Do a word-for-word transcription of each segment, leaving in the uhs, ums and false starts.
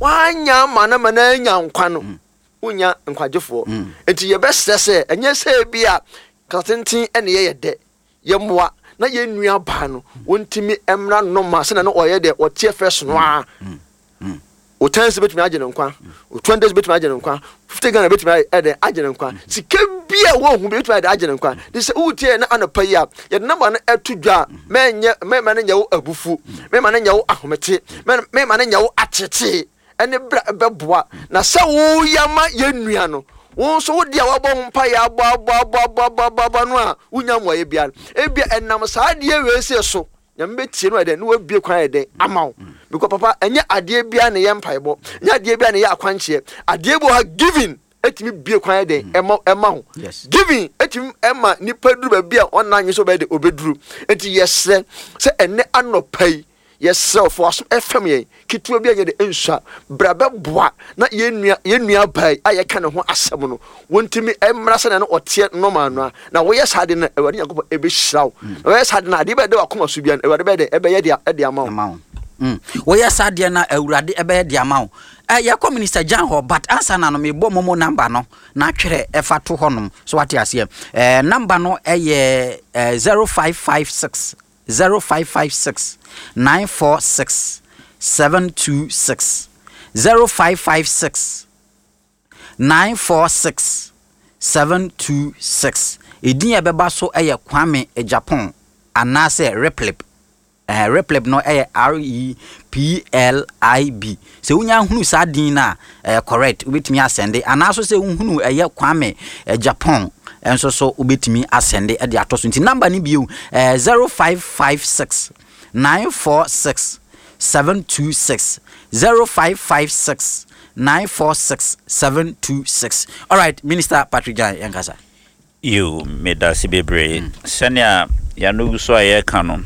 Wanya ama no ma no anya nkwa no, wonya nkwagyefoɔ. Nti yɛbɛsrɛ sɛ ɛnyɛ sɛ bi a kasatenten ɛne yɛyɛ dɛ yɛmmoa na yɛn nua baa no wɔntumi mmra nnɔma sɛnɛ no ɔyɛ dɛ ɔteɛ fɛ so no a, o ten cedis bɛtumi agye ne nkwa, o twenty cedis bɛtumi agye ne nkwa, fifty Ghana bɛtumi ayɛ ɛdɛ agye ne nkwa, sika bi a wɔn ho bi bɛtumi ayɛ dɛ agye ne nkwa. De sɛ wotie na anɔpa yi a yɛde number no ɛto dwa a, mɛnyɛ mɛma no nyɛ wo abufu, mɛma no nyɛ wo ahomete, mɛ- mɛma no nyɛ wo atetee ɛne bra bɛboa na sɛ woyɛ ma yɛn nua no, wo nso wodi a wabɔ ho mpa yɛ abɔ abɔ abɔ abɔ abɔ abɔ abɔ no a wonya mmuayɛ biara. Ebia ɛnam saa adeɛ wei sɛ so Nyame bɛtie no ɛdɛn ne wabie kwan yɛ dɛn ama wo, because papa, ɛnyɛ adeɛ biara ne yɛ mpaebɔ, ɛnyɛ adeɛ biara ne yɛ akwankyerɛ. Adeɛ bi wɔ ha, giving ɛtumi bie kwan yɛ dɛn ɛma ɛma ho. Yes. Giving ɛtumi ɛma nipa duru baabi a ɔnna nye so bɛyɛ de obɛduru. Nti yɛsrɛ sɛ ɛnɛ anɔpa yi yɛsrɛ fo aso ɛfɛm yɛn ketewa bi a yɛ de nsua bra bɛboa na yɛn nua yɛn nua baa yi a yɛka ne ho asɛm no wɔntumi mmra sɛnea no ɔteɛ nɔɔma no a. Na wɔyɛ saa de no, Awurade Nyankopɔn ɛbɛhyira wo. Na wɔyɛ saa de no, adeɛ bɛyɛ de wakoma so bia no, Awurade bɛyɛ de ɛbɛyɛ de ɛde ama wo. Ama wo. Mm. Woyɛ saa deɛ na Awurade ɛbɛyɛ de ama wo. Eh, yɛkɔ Minister Jan hɔ, but ansa na no mebɔ MoMo number no na atwerɛ ɛfa to hɔnom so wate aseɛ. eh, number no ɛyɛ eh, zero five five six zero five five six nine four six seven two six, zero five five six nine four six seven two six. Ɛdin a ɛbɛba so ɛyɛ Kwame Japan anaasɛ Replib. eh, replib no ɛyɛ R E P L I B. Sɛ wonya hunu saa din no a, ɛyɛ correct, wobɛtumi asɛnde, anaaso sɛ wohunu ɛyɛ Kwame eh, Japan ɛnso so wobɛtumi asɛnde ɛde atɔ so. Nti number no bio, eh, zero five five six nine four six seven two six, zero five five six nine four six seven two six. Alright, Minister Patrick Jan, yɛnkasa. Yo, medase bebree. Sɛnea yɛano gu so a yɛreka no,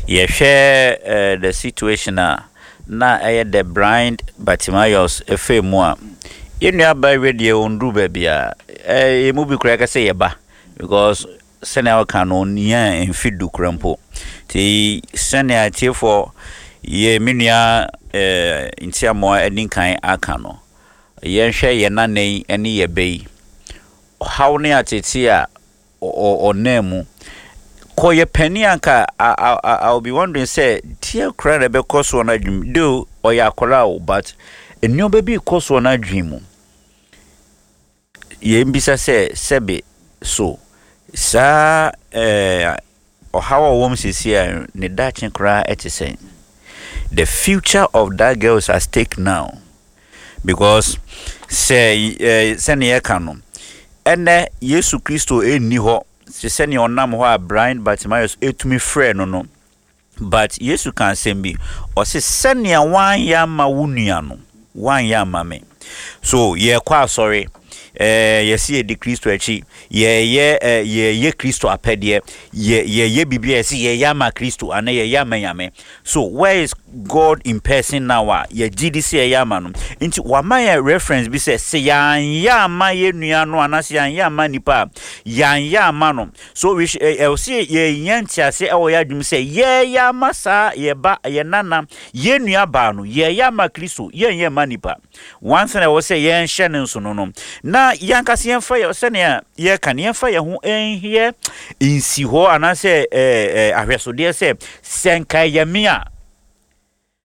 yɛhwɛ uh, the situation a na ɛyɛ the blind Bartimaeus ɛfɛ mu a, yɛn nua ba wie deɛ ɔnduru baabi a eh, yɛn mu bi koraa kɛ sɛ yɛba, because sɛnea wɔka no ɔnnia mfe du kora mpo. Nti sɛnea tiefoɔ yɛ me nua eh, Ntiamoa ani kan aka no, yɛnhwɛ yɛn nana yi ne yɛ bɛ yi ɔhaw ne atete a ɔnam mu kɔyɛ panin anka I, I, I will be wondering sɛ deɛ koraa na ɛbɛkɔ soɔ no adwene mu. Though ɔyɛ akwaraa o, but nneɛma bi kɔ soɔ no adwene mu. Yɛn bisa sɛ sɛbe so saa ɛɛ ɔhaw a ɔwɔ mu sisi a ne daakye koraa ɛte sɛn? The future of that girl is at stake now, because sɛ ɛɛ sɛnea yɛka no, ɛnɛ Yesu Kristo ɛnni hɔ te sɛnea ɔnam hɔ a blind Bartimaeus ɛtumi frɛ no no but Yesu ka asɛm bi, ɔse sɛnea woanyɛ ama wo nua no, woanyɛ ama me. So yɛkɔ asɔre, ɛɛ yɛsi yɛdi Kristo akyi, yɛyɛ ɛɛ yɛyɛ Kristo apɛdeɛ, yɛ yɛyɛ biribi a yɛsi yɛyɛ ama Kristo anaa yɛyɛ ama Nyame. So where is God in person now a yɛgye di sɛ yɛyɛ ama no? Nti wama yɛ reference bi sɛ sɛ yɛanyɛ ama yɛ nua no anaasɛ yɛanyɛ ama nipa a, yɛanyɛ ama no. So we ɛ ɛwɔ sɛ yɛnya ntease ɛwɔ yɛ adwuma sɛ yɛyɛ ama saa yɛba yɛ nana yɛ nua baa no, yɛyɛ ama Kristo, yɛnyɛ ama nipa. One thing a ɛwɔ sɛ yɛnhyɛ ne nso no no na yɛankasa yɛmfa yɛ sɛnea yɛka no, yɛmfa yɛn ho nhyɛ nsi hɔ anaasɛ ɛɛ ɛɛ ahwɛsodeɛ sɛ sɛ nka ɛyɛ me a,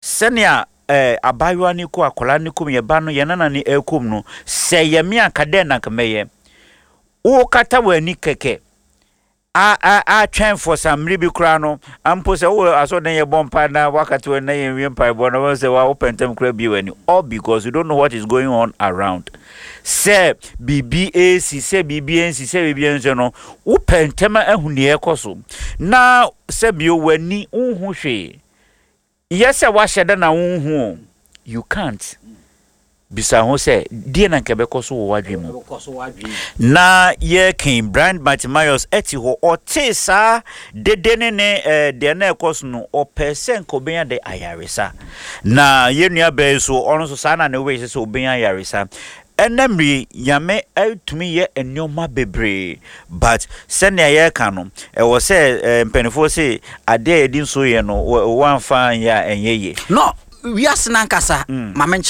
sɛnea ɛɛ abaayewa no kɔ, akwadaa no kɔm, yɛba no, yɛn nana no ɛkɔm no, sɛ ɛyɛ me a, nka dɛn na nka mɛyɛ? Wokata w'ani kɛkɛ a a atwɛn for some mmere bi koraa no ampo sɛ wowɔ asɔredan yɛ bɔ mpa na wakata w'ani na yɛnwie mpaebɔ na wɔn sɛ wa wopɛ ntɛm koraa bie w'ani, all because you don't know what is going on around, sɛ biribi esi, sɛ biribi ensi, sɛ biribi ensi no, wopɛ ntɛm ahu nea ɛkɔ so na sɛ bio w'ani nhu hwee yɛ sɛ wahyɛ da na wonhu o. You can't bisa ho sɛ deɛ na nka ɛbɛkɔ so wɔ w'adwene mu. Na yɛkin blind Bartimaeus ɛte hɔ, ɔte saa dede ne ne ɛɛ deɛ na ɛkɔ so no, ɔpɛ sɛ nka ɔbɛnya de ayaresa. Na yɛn nua bɛɛ so, ɔno nso saa na ne wei sɛ sɛ ɔbɛnya ayaresa. Ɛnɛ mmiri Nyame ɛtumi yɛ nneɛma bebree, but sɛnea yɛreka no, ɛwɔ sɛ ɛɛ mpanimfoɔ sɛ adeɛ a yɛde nsuo yɛ no, wɔamfa nyɛ a ɛnyɛ yie. No wiase nankasa mm. Maame nkyerɛ.